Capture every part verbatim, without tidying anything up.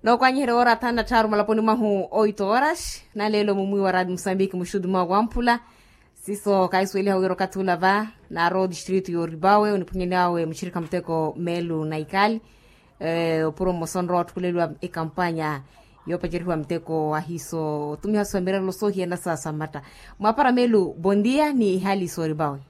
Nookwanyiherya woora thanu na tthaaru malaponi mwahu oito horas. Naleelo mumwiiwa raadi musambiki muxuti mwawe wamphula. Siiso kaahisuweliha wira okathi ula va naarowa otistritu yooripawe oniphwanyani awe muxirikha muteko meelu na ikali. Opuro mmosa onrowa otthukuleliwa ekampanya yoopacerihiwa muteko ahiiso otumiha suwa mirerelo soohiyana sa samatta. Mwaapara meelu bondia ni ihaali sooripawe.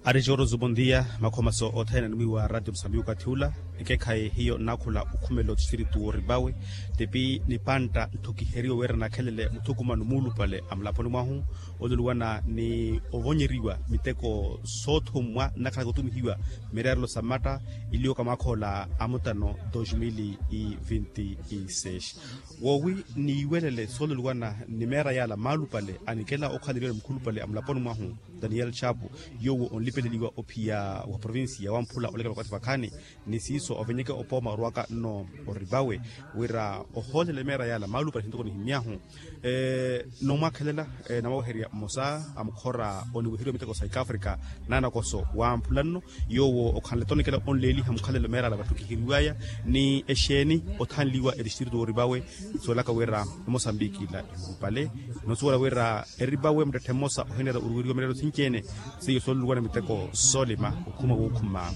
Ari jooroso bondia. Makhomaso othene animwiiwa ratio musambiki okathi ula. Ekeekhayi hiyo nnaakhula okhumela otistritu wooripawe. Tipi nipantta ntthukiheriwe wira nakhelele muthukumano muulupale a mulaponi mwahu. Oluluwana ni ovonyeriwa miteko soothummwa nnakhalaka otumihiwa mireerelo sa matta. Iliyoka mwaakha ola amutano dos mil e vinte e seis. Woowi niiwelele sooluluwana ni meera yaala maalupale anikela okhaleliwa ni mukhulupale a mulaponi mwahu, daniel chapu, yoowo onlipeleliwa ophiya wa provincia wamphula olekela okathi vakhaani. Ni siiso ovenyeke opooma orwaka nno oripawe wira ohoolele meera yaala maalupale hintoko nihimmyahu. Nomwaakhelela, nawaweherya mmosa a mukhora oniweheriwa miteko sa ikafrika, naanakoso wamphula nno. Yoowo okhanle tonikela onleeliha mukhalelo meerala vatthu kihiriwaya ni exeeni othanliwa etistritu wooripawe. Suwelaka wira emosambiki ila ehuupale. Nosuwela wira eripawe muttetthe mmosa ohineera oruweriwa mireerelo sinci-ene. Seiyo sooluluwana miteko soolima okhuma wookhuma,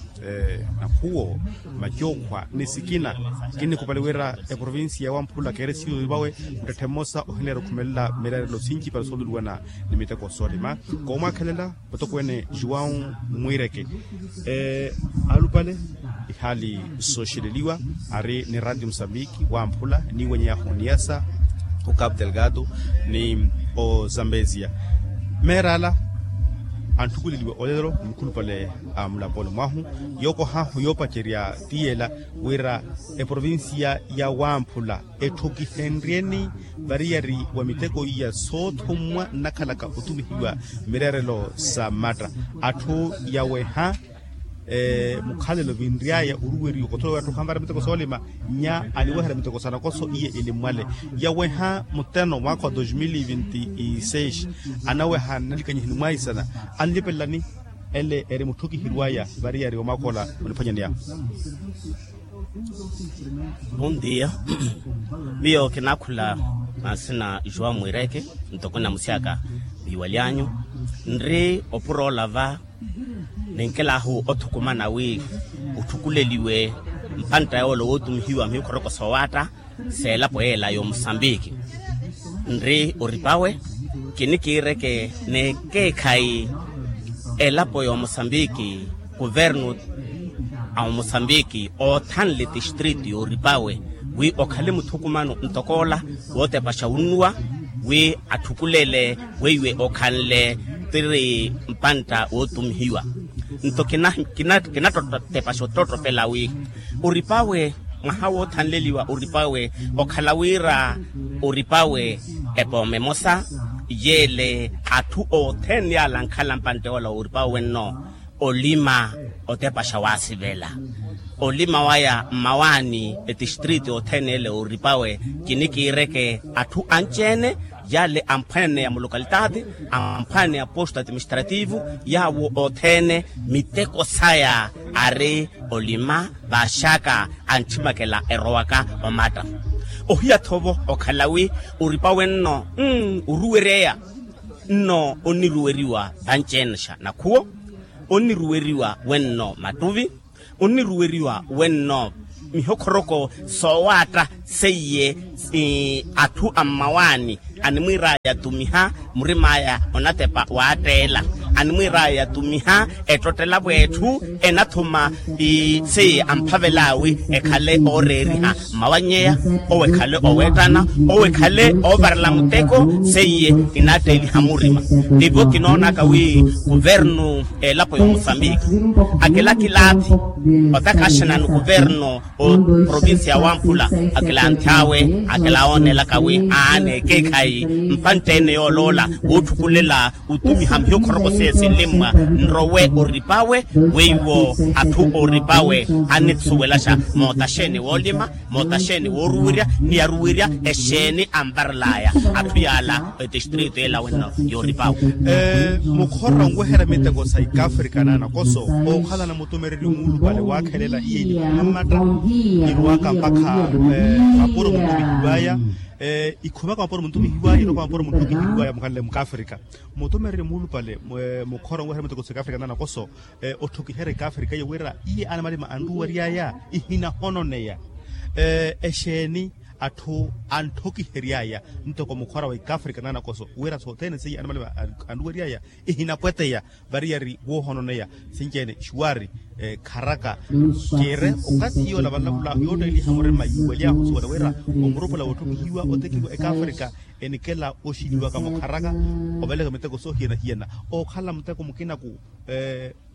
nakhuwo, macookhwa ni sikina. Kinnikupali wira eprovincia ya wamphula keeresiwa oripawe muttetthe mmosa ohineera okhumelela mireerelo sinci para sooluluwana ni miteko soolima. Koomwaakhelela mutokweene juwau mwiireke. Alupale ihaali sooxeleliwa ari ni ratio musambiki wamphula niiwenyeyahu oniyasa, ocapu delgado ni ozambezia. Meerala antthukuleliwe olelo ni mukhulupale a mulaponi mwahu. Yookohahu yoopacerya ti yeela wira eprovincia ya wamphula etthukihenryeni variyari wa miteko iya soothummwa nnakhalaka otumihiwa mireerelo sa matta. Atthu yaweha mukhalelo vinry'aya oruweriwa okotholo wira atthu khanvara miteko soolima. Nya aniweherya miteko sa nakoso iye ilimmwale yaweha muteno mwaakha wa dos mil e vinte e seis. Anaweha nnalikanyihini mwaisana anlipelelani. Ele eri mutthukiheriwaya variyari wa mwaakha ola oniphwanyani yahu. Bondia. Miyo kinaakhula mansina juwa mwiireke ntoko namusyaka viiwalyanyu. Nri opuro olava ninkelahu othukumana wi utthukuleliwe mpantta yoola wootumihiwa mihikhoroko soowaatta seelapo yeela y'omusambiki. Nri oripawe kinikiireke n'ekeekhayi elapo y'omusambiki kuvernu a omusambiki oothanle tistritu y'oripawe wi okhale muthukumano ntokoola wootepaxa wunnuwa wi atthukulele weiwe okhanle tiri mpantta wootumihiwa. Nto kinattotepaxa ottottopela wi oripawe mwaha woothanleliwa oripawe okhala wira oripawe epooma emosa yeele atthu othene yaala ankhala mpantte yoola woripawe wenno olima otepaxa waasivela olima waya mmawaani etistritu othene ele oripawe kinikiireke atthu anci-ene yaale amphwene ya mulokalitati amphwene ya posto administrativu yaawo othene miteko saya ari olima vaaxaka anthimakela erowaka omatta ohiya-tho vo okhala wi oripawe nno oruweryeya nno onniruweriwa vanci-ene xa nakhuwo onniruweriwa wenno mattuvi onniruweriwa wenno mihokhoroko soowaatta seiye atthu a mmawaani animwiiraya atumiha murim'aya onatepa waatteela animwiiraya atumiha ettottela vw'etthu enathuma seiye amphavel'awi ekhale ooreeriha mmawanyeya owo ekhale oweettana owo ekhale oovarela muteko seiye kinaatteeliha murima tivo kinoonaka wi kuvernu elapo y'omusambiki akilakilaathi otakhaxana ni kuvernu oprovincia wamphula akilanth'awe akilawoonelaka wi aana ekeekhayi mpantte-ene yooloola wootthukulela otumiha mihokhoroko Esinlimmwa nrowe oripawe weiwo atthu oripawe annisuwelaxa moota xeeni woolima, moota xeeni wooruwirya, ni yaruwirya exeeni anvarelaya atthu yaala etistritu ela wenno yooripawe. Mukhorwa onweherya miteko sa ikafrika naanakoso, ookhalana mutumereryo muulupale waakhelela iye nikhuma mmatta, nirwaka mpakha mapuro muntumihiwaya. Ikhumaka mapuro muntumihiwaya irwaka mapuro muntumihiwaya mukhanle mukafrika. Mutumereryo muulupale mukhora onweherya miteko sa ikafrika naanakoso, otthokiherya ikafrika iyo wira iye anamalima anruweryaya, ihinahononeya. Exeeni atthu antthokiheryaya ntoko mukhora wa ikafrika naanakoso wira sothene seiye anamalima anruweryaya ihinapweteya, variyari woohononeya sinci-ene xuwari. Kharaka kiire okathi yoola vanlavula yootteeliha murima yiiwelyahu suwela wira omurupula wootthokihiwa otekiwa ekafrika enikela oxiniwaka mukharaka oveleka miteko soohiyana-hiyana. Ookhala muteko mukinaku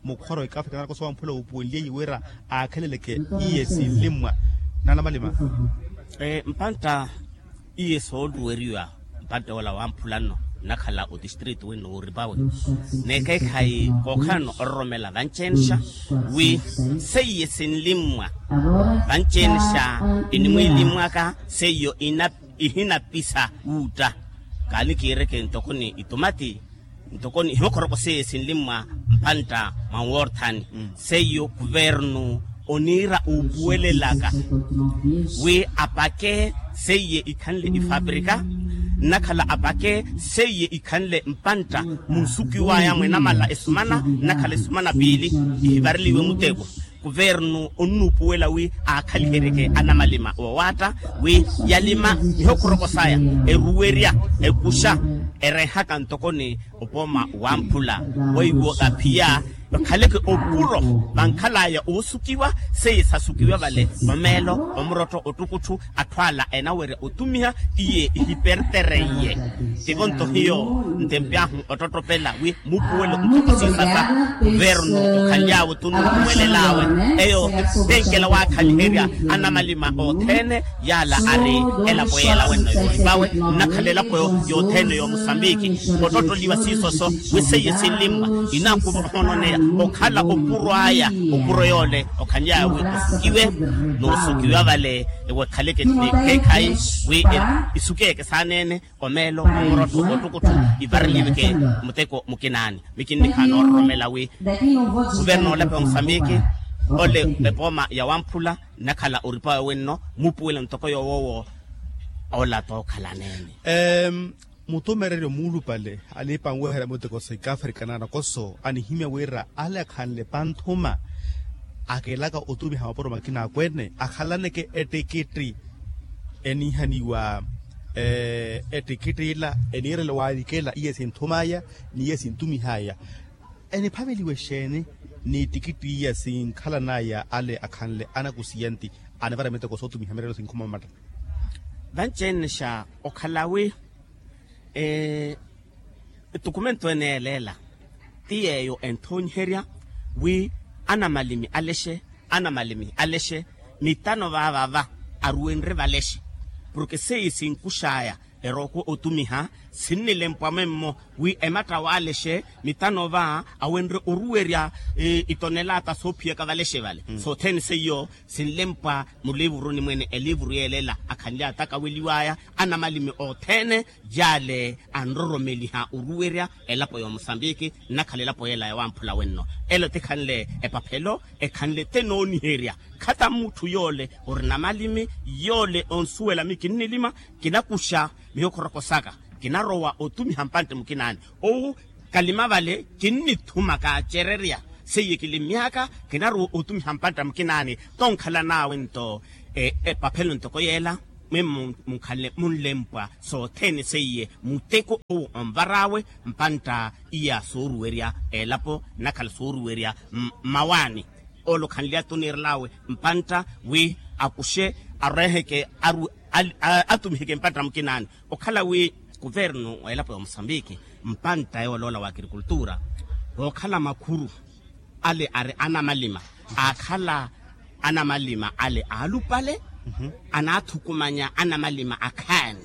mukhora wa ikafrika naanakoso wamphula wuupuweliye wira aakheleleke iye sinlimmwa naanamalima. Mpantta iye soonruweriwa mpantte ola wamphula nno nnakhala otistritu winno wooripawe. Neekeekhayi kookhalano ororomela vanci-enixa wi seiye sinlimmwa vanci-enixa enimwiilimmwaka seiyo ihinapisa wuutta. Kaanikiireke ntokoni itumati ntokoni ihokhoroko seiye sinlimmwa mpantta mwa nworthani seiyo kuvernu oniira uupuwelelaka wi apake seiye ikhanle ifaprika nnakhala apake seiye ikhanle mpantta munsukiwaya mwenamala esumana nnakhala esumana piili ihivareliwe muteko. Kuvernu onnuupuwela wi aakhaliheryeke anamalima woowaatta wi yalima ihokhoroko saya eruwerya ekuxa erehaka ntokoni opooma wamphula weiwo aphiya vakhaleke opuro vankhalaya oosukiwa seiye sasukiwa vale omeelo omurotto ottukutthu atthu ala enawerya otumiha iye ihipertereiye. Tivo nto hiyo ntempi ahu ottottopela wi muupuwelo ntoko siisasa kuvernu okhaly'awe tunnuupuwelel'awe eyo tenkela waakhaliherya anamalima othene yaala ari elapo yeela wenno yooripawe nnakhala elapo yothene yoomusambiki ottottoliwa siisoso wi seiye sinlimmwa inaakuva ohononeya okhala opuro aya opuro yoole okhaly'awe wi osukiwe noosukiwa vale ewekhaleke ni keekhayi wi isukeeke saaneene omeelo omurotto ottukutthu ivareliweke muteko mukinaani mikinniha noororomela wi kuvernu olapo ya musambiki ole epooma ya wamphula nnakhala oripawe wenno muupuwela ntoko yoowoowo ola tookhala aneene. Mutumereryo muulupale aliipa anweherya muteko sa ikafrika naanakoso anihimya wira ale akhanle panthuma akelaka otumiha mapuro makina akweene akhalaneke ettikitti eniihaniwa ettikitti ila eniirela waalikela iye sinthum'aya ni iye sintumih'aya eniphaveliwa exeeni n'ittikitti iya sinkhalan'aya ale akhanle anakusiyanti anivara miteko sootumiha mirelo sinkhuma mmatta. Vanci-ene xa okhala wi ettukumento ene yeeleela ti yeeyo enthoonyiherya wi anamalimi alexe anamalimi alexe mitano vaavava aruwenrye valexe porke seiye sinkux'aya erookwe otumiha sinnilempwa mwemmo wi ematta waalexe mitano va awenrye oruwerya itonelata soophiyaka valexe vale sothene seiyo sinlempwa muliivuruni mwene eliivuru yeelela akhanly'aya takaweliw'aya anamalimi othene yaale anroromeliha oruwerya elapo ya omusambiki nnakhala elapo yeela ya wamphula wenno elo tikhanle epaphelo ekhanle tenooniherya khata mutthu yoole orina malimi yoole onsuwela miyo kinnilima kinakuxa miyo khoroko saka kinarowa otumiha mpantte mukinaani owu kalima vale kinnithuma kaacererya seiye kilimyaka kinarowa otumiha mpantta mukinaani tonkhalan'awe nto epaphelo ntoko yeela mwe munkhanle munlempwa sothene seiye muteko owo onvar'awe mpantta iya sooruwerya elapo nnakhala sooruwerya mmawaani ole okhanly'aya tuniirel'awe mpantta wi akuxe areheke atumiheke mpantta mukinaani okhala wi kuvernu wa elapo ya omusambiki mpantta yooloola wa akrikultura wookhala makhuru ale ari anamalima aakhala anamalima ale aalupale anaathukumanya anamalima akhaani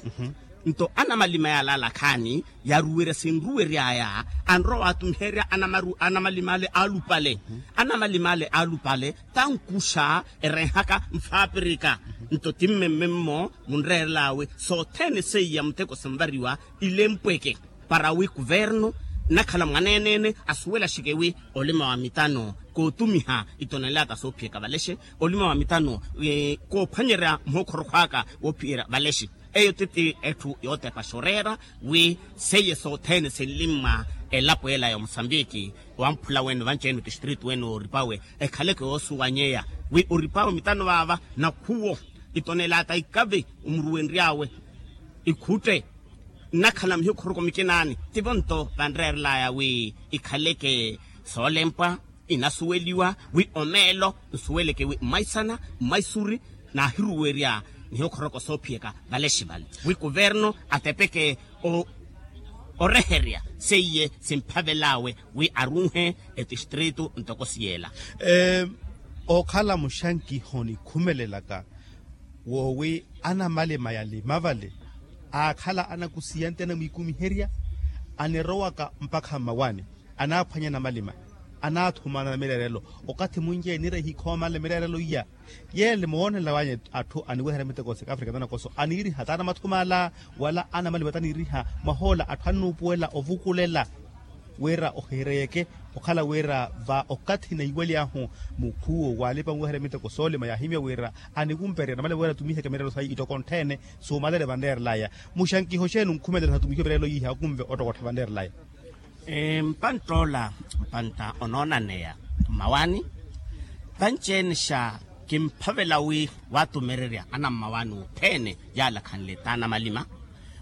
Nto anamalima yaalaalakhaani yaruwerya sinruwery'aya anrowa waatumiherya anamalim'ale aalupale. Anamalim'ale aalupale tankuxa erenhaka mfaapirika. Nto ti mmemmemmo munreerel'awe sothene seiya muteko sinvariwa ilempweke para wi kuvernu nnakhala mwaneeneene asuwelaxeke wi olima wa mitano kootumiha itonelata soophiyaka valexe. Olima wa mitano koophwanyerya muhokhorokho aka woophiyerya valexe. Eyo titi etthu yootepaxa oreera wi seiye sothene sinlimmwa elapo ela ya omusambiki wamphula wene vanci-ene otistritu wene wooripawe ekhaleke woosuwanyeya wi oripawe mitano vaava nakhuwo itonelata ikavi omuruwenry'awe ikhutte nnakhala mihikhoroko mikinaani. Tivo nto vanreerel'aya wi ikhaleke soolempwa inasuweliwa wi omeelo nsuweleke wi mmaisana mmaisuri naahiruwerya nihokhoroko soophiyaka valexe vale wi kuvernu atepeke oreherya seiye simphavel'awe wi arunhe etistritu ntoko siyela. Ookhala muxankiho nikhumelelaka woowi anamalima yalima vale aakhala anakusiya nte anamwiikumiherya anirowaka mpakha mmawani anaaphwanya namalima anaathumana na mireerelo okathi munci eniira ehikhoomale mireerelo iya. Yeele moonela wanyu atthu aniweherya miteko sika afrika tanakoso aniiriha taana mathumala wala anamalima taniiriha mwahoola atthu annuupuwela ovukulela wira ohireeyeke okhala wira va okathi naiwaly'ahu mukhuwo waalipa muweherya miteko soolima yaahimya wira anikumperya namale wira atumiheke mireerelo sayi itoko nttheene suumalele vanreerelaya. Muxankiho xeeni onkhumelela satumihiwe mireerelo yiiha akumve ottokottha vanreerelaya. Mpantta ola mpantta onoonaneya mmawani vanci-ene xa kimphavela wi waatumererya anammawaani othene yaalakhanle taana malima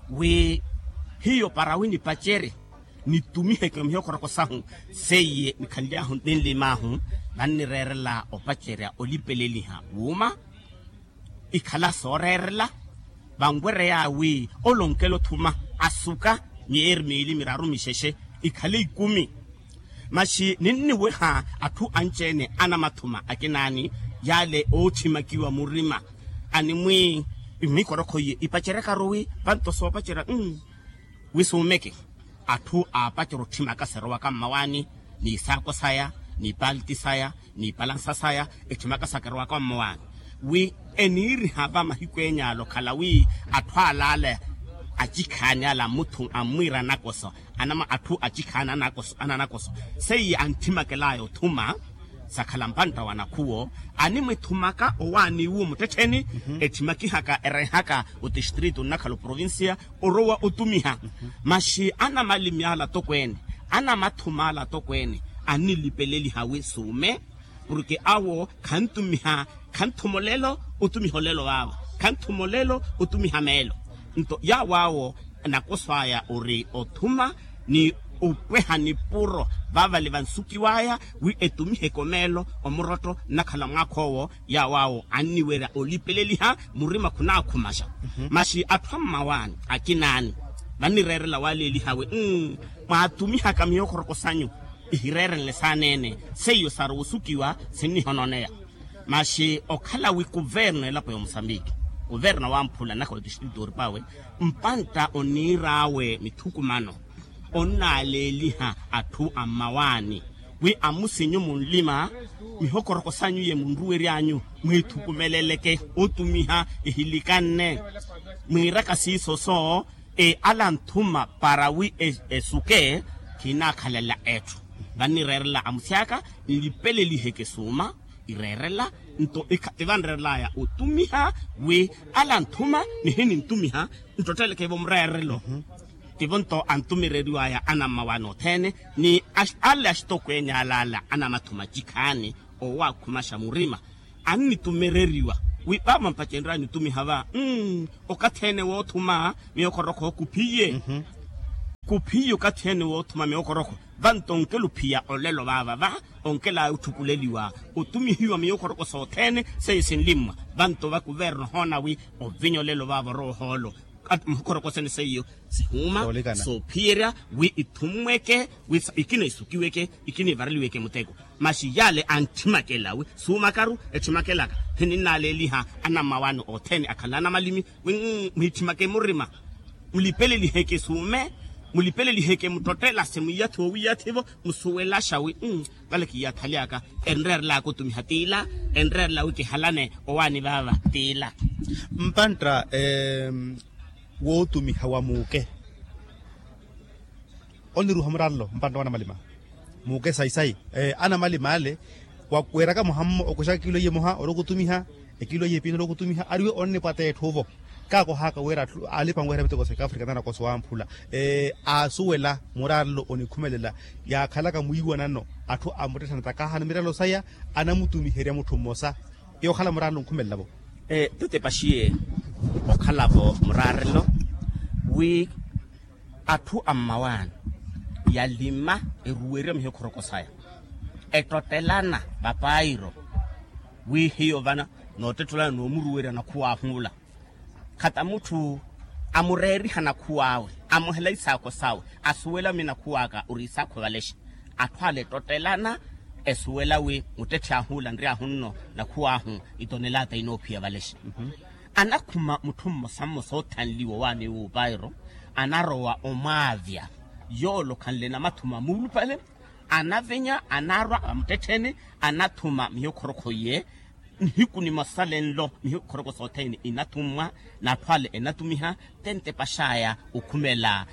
wi hiyo para wi nipacerye nitumiheke mihokorokosahu seiye nikhanly'ahu ninlim'ahu vannireerela opacerya olipeleliha wuuma ikhala sooreerela vanwerey'awe olonkela othuma asuka myeeri miili miraru mixexe ikhale ikumi. Maxi ninniweha atthu anci-ene anamathuma akinaani yaale oothimakiwa murima animwi mmikorokho iye ipaceryakaru wi vanto soopacerya wi suumeke atthu aapacerya otthimaka sirowaka mmawaani n'isaako saya n'ipalti saya n'ipalansa saya etthimaka sakirowaka mmawaani wi eniiriha va mahiku eenyu ala okhala wi atthu alaala acikhaani ala ammuthu ammwiira anakoso anama atthu acikhaani anakoso seiye antthimakel'aya othuma sakhala mpantta wa nakhuwo animwithumaka owaani iwu muttettheni etthimakihaka erehaka otistritu nnakhala oprovincia orowa otumiha maxi anamalimi ala atokweene anamathuma ala atokweene annilipeleliha wi suume porke awo khantumiha khanthuma olelo otumiha olelo vaavo khanthuma olelo otumiha meelo nto yaawo awo nakoso aya ori othuma ni opweha nipuro vavale vansukiw'aya wi etumiheke omeelo omurotto nnakhala mwaakha owo yaawo awo anniwerya olipeleliha murima khunaakhumaxa maxi atthu ammawaani akinaani vannireerela waleeliha wi mmm mwaatumihaka mihokhoroko sanyu ihireerenle saaneene seiyo sarowa osukiwa sinnihononeya maxi okhala wi kuverno elapo ya omusambiki kuverno wamphula nnakhala otistritu oripawe mpantta oniir'awe mithukumano onnaaleeliha atthu ammawaani wi amusinyu munlima mihokoroko sanyu ye munruwery'anyu mwiithukumeleleke otumiha ehilikanne mwiiraka siiso so ala anthuma para wi esuke khinaakhalela etthu vannireerela amusi aka nlipeleliheke suuma ireerela nto tivanreerel'aya otumiha wi ala anthuma nihinintumiha nttottelekevo mureerelo tivo nto antumireriw'aya anammawaani othene ni ale axitokweene alaala anamathuma acikhaani owaakhumaxa murima annitumereriwa wi vaava mpacenrya nitumiha va okathi ene woothuma miyokhorokho kuphiye kuphiye okathi ene woothuma miyokhorokho vanto onkela ophiya olelo vaava va onkel'aya otthukuleliwa otumihiwa miyokhoroko sothene seiyo sinlimmwa vanto va kuverno ohoona wi ovinya olelo vaava orowa ohoolo muhokhoroko sene seiyo sihuuma soophiyerya wi ithummweke wi ikina isukiweke ikina ivareliweke muteko maxi yale antthimakela wi suumakaru etthimakelaka hininnaleeliha anammawaani othene akhala anamalimi wi mwiitthimake murima Mulipeleliheke suume, mulipeleliheke muttottela se mwiyathiwa owiyathivo. Musuwelaxa wi vale kiyathaly'aka enreerelaka otumiha t'ila, enreerela wi kihalane owaani vaava t'ila. Mpantta wootumiha wa muuke oniruha murarelo mpantta wanamalima muuke sayi-sayi. Anamalima ale weeraka muhammo okuxaka ekilo iye muha orokutumiha, ekilo iye piini orokutumiha ariwe onnipwata etthu ovo. Kaakohaka wira alipa anweherya miteko sa ekafrika nanakoso wamphula aasuwela murarelo onikhumelela. Yaakhalaka mwiiwanano atthu amuttetthana takahana mirarelo saya anamutumiherya mutthu mmosa yookhala murarelo onkhumelela-vo. Tete paxiye okhala-vo murarelo wi atthu a mmawaani yalima eruwerya mihikhoroko saya ettotelana vapairo wi hiyo vana noottettulana noomuruwerya nakhuwaahu ula khata mutthu amureeriha nakhuwaawe amuhela isaakho sawe asuwela wi nakhuwaaka ori isaakho valexe. Atthu ale ettotelana esuwela wi muttetthi ahu ula nryaahu nno nakhuwaahu itonelata inoophiya valexe. Anakhuma mutthu mmosa mmosa oothanliwa owaani wuupairo anarowa omwaavya yoole okhanle namathuma muulupale. Anavinya anarwa vamuttettheni anathuma mihikhorokho iye nihiku nimosa lenlo mihikhorokho sothene inathummwa n'atthu ale enatumiha. Tente paxaya okhumela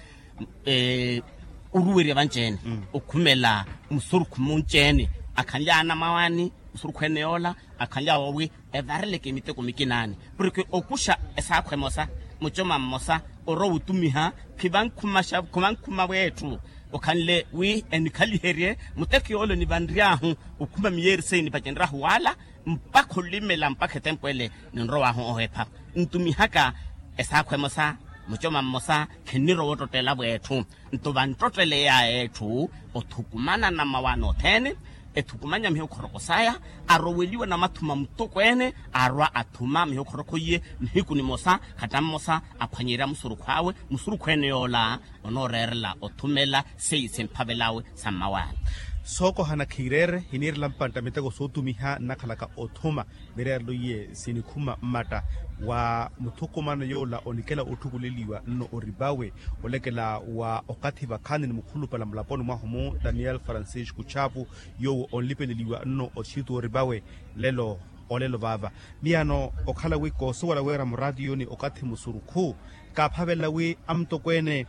oruwerya vanci-ene okhumela musurukhu munci-ene akhanly'awe anamawani musurukhu ene yoola akhanly'awe owi evareleke miteko mikinaani porke okuxa esaakho emosa mucoma mmosa orowa otumiha khivankhumaxa khivankhuma w'etthu okhanle wi enikhaliherye muteko yoole onivanry'ahu okhuma miyeeri seiye nipacenryahu wala mpakha olimela mpakha etempo ele ninrow'ahu ohepha ntumihaka esaakho emosa mucoma mmosa khinnirowa ottottela w'etthu nto vanttotteleya etthu othukumana namawaani othene ethukumanya mihikhoroko saya aroweliwa namathuma mutokweene arwa athuma mihikhoroko iye nihiku nimosa khata mmosa aphwanyerya musurukhu awe musurukhu ene yoola onooreerela othumela seiye simphavel'awe sa mmawaani. Sookohana khiireere hiniirela mpantta miteko sootumiha nnakhalaka othuma mireerelo iye sinikhuma mmatta wa muthukumano yoola onikela otthukuleliwa nno oripawe olekela wa okathi vakhaani ni mukhulupale mulaponi mwahu-mu daniel francisco chapu yoowo onlipeleliwa nno oxitu oripawe lelo olelo vaava miyano okhala wi koosuwela wira muraatiyoni okathi musurukhu kaaphavela wi amutokweene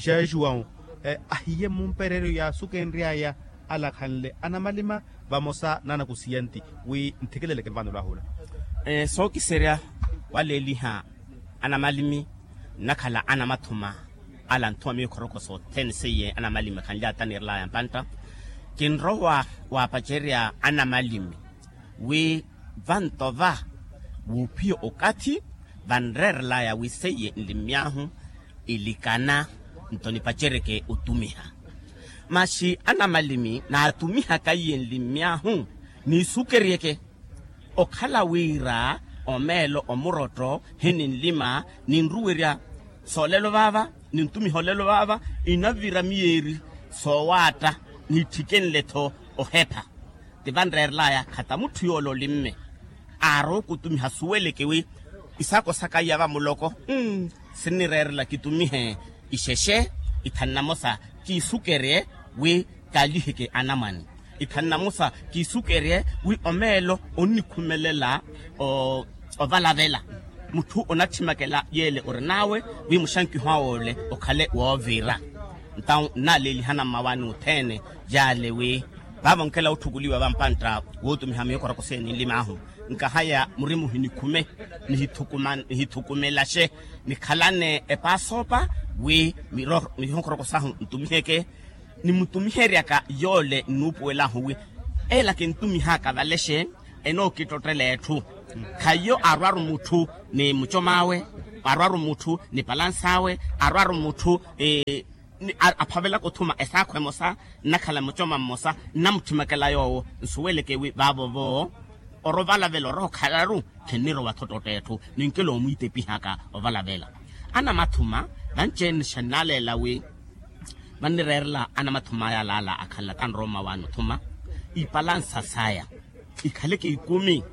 jean juan ahiye mumpereeryo yaasukenry'aya alakhanle anamalima vamosa n'anakusiyanti wi nthekeleleke nvaano lwahula. Sookiserya waleeliha anamalimi nnakhala anamathuma ala anthuma mihikhoroko sothene seiye anamalimi khanly'ata niirel'aya mpantta kinrowa waapacerya anamalimi wi vanto va wuuphiya okathi vanreerel'aya wi seiye nlimmy'ahu ilikana nto nipaceryeke otumiha maxi anamalimi naatumihaka iye nlimmy'ahu niisukeryeke okhala wira omeelo omurotto hininlima ninruwerya soolelo vaava nintumiha olelo vaava inavira miyeeri soowaatta niitthikenle-tho ohepha ti vanreerel'aya khata mutthu yoola olimme aarowa okutumiha suweleke wi isaakho saka iya vamuloko sinnireerela kitumihe ixexe ithanu namosa kiisukerye wi kaaliheke anamwane ithanu namosa kiisukerye wi omeelo onnikhumelela ovalavela mutthu onathimakela yeele orin'awe wi muxankiho awe ole okhale woovira ntawu nnaaleelihana mmawaani othene yaale wi vaavo onkela otthukuliwa vampantta wootumiha mihikhoroko seiye ninlim'ahu nkahaya murima ohinikhume nihithukumelaxe nikhalane epaasoopa wi mihikhoroko sahu ntumiheke nimutumiheryaka yoole nnuupuwelahu wi ela kintumihaka valexe enookittottela etthu khayiyo arwaru mutthu ni mucom'awe arwaru mutthu ni palans'awe arwaru mutthu aphavelaka othuma esaakho emosa nnakhala mucoma mmosa nnamuthimakela yoowo nsuweleke wi vaavo-vo orovalavela orookhalaru khinnirowa-tho ttotta etthu ninkela omwiitepihaka ovalavela anamathuma vanci-ene xannaleela wi vannireerela anamathuma aya alaala akhanla tanrooma waani othuma ipalansa saya ikhaleke ikumi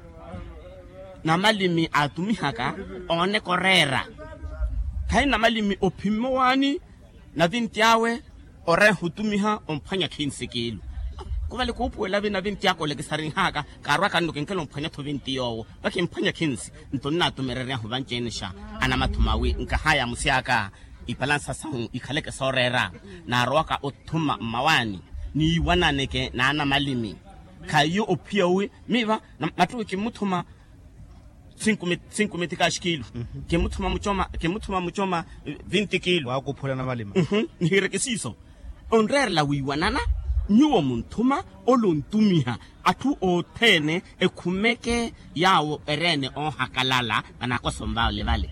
namalimi aatumihaka ooneka oreera Khayi namalimi ophimma owaani navinti awe oreha otumiha omphwanya khinsi kiilu. Kuvale kuupuwela vina vinti aka olekisarinhaka kaarwaka nno kinkela omphwanya-tho vinti yoowo vakimphwanya khinsi. Nto nnaatumereryahu vanci-ene xa anamathuma wi nkahaya musi aka ipalansa sahu ikhaleke sooreera naarowaka othuma mmawaani niiwananeke n'anamalimi. Khayiyo ophiya owi miiva mattuwi kimmuthuma sinkumiti kaaxikiilu. Kimmuthuma mucoma vinti kiilu. Waakuphula namalima. Nihiireke siiso onreerela wiiwanana nyuwo munthuma ole ontumiha atthu othene ekhumeke yaawo ereene oohakalala vanakoso mvaole vale.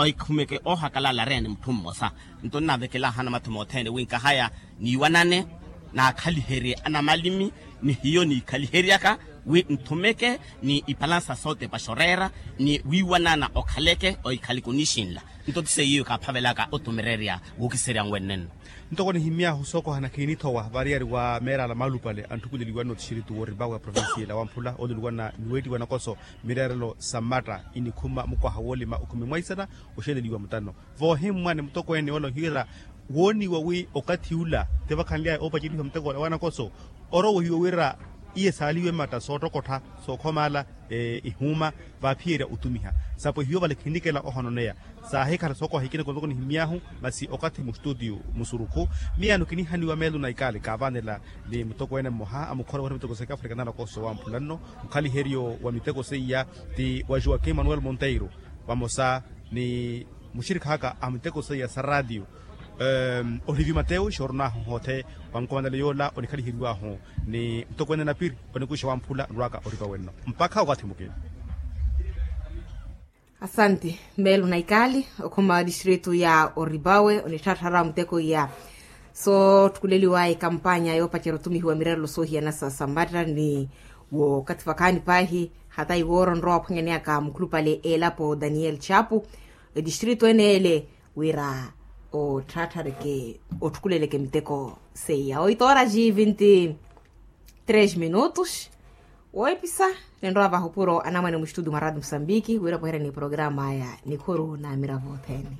Ekhumeke oohakalala areene mutthu mmosa. Nto nnavekelaahu anamathuma othene wi nkahaya niiwanane naakhaliherye anamalimi ni hiyo niikhaliheryaka wi nthumeke ni ipalansa sootepa xoreera ni wiiwanana okhaleke oikhaleke onixinla. Nto ti seiyo kaaphavelaka otumererya wookiserya nwennenno. Ntoko nihimy'ahu sookohana khiinithowa variyari wa meerala maalupale antthukuleliwa nno tixiritu wooripawe a provincia ela wamphula ooluliwa na niweetiwa nakoso mireerelo sa mmatta inikhuma mukwaha woolima okhumi mwaisana oxeleliwa mutano. Voohimmwa ni mutokweene ole ohiira wooniwa wi okathi ula ti vakhanly'aya oopacelihiwa muteko ole wa nakoso orowehiwe wira iye saaliwe matta soottokottha sookhoma ala ihuuma vaaphiyerya otumiha. Sapo hiyo vale khinnikela ohononeya saahikhala sookoha ikina kontoko nihimy'ahu masi okathi mustutiyu musurukhu. Miyaano kinihaniwa meelo na ikaali kaavanela ni mutokweene mmoha amukhora wira miteko sa kiafrika na nakoso wamphula nno mukhaliheryo wa miteko seiya ti wa joaquim manuel monteiro vamosa ni muxirikha aka a miteko seiya sa raatiyo. Olivi mateyo xooronahu hoothe wa nkomanelo yoola onikhaliheryiwahu ni mutokweene napiri onikuxa wamphula nrwaka oripa wenno mpakha okathi mukina. Asanti. Meelo na ikaali okhuma wa distritu ya oripawe onitthaatthaara muteko iya soottukuleliwaya ekampanya yoopacerya otumihiwa mireerelo soohiyana sa sammatta ni wookathi vakhaani paahi hata iwoora onrowa ophwanyaneyaka mukhulupale eelapo daniel chapu etistritu ene ele wira otthaatthareke otthukuleleke miteko seiya oito horas e vinte e três minutos. Woopisa ninrowa vahupuro anamwane muxitudio mwa radio musambiki wira pweherya ni programa aya nikhuru na miravo othene.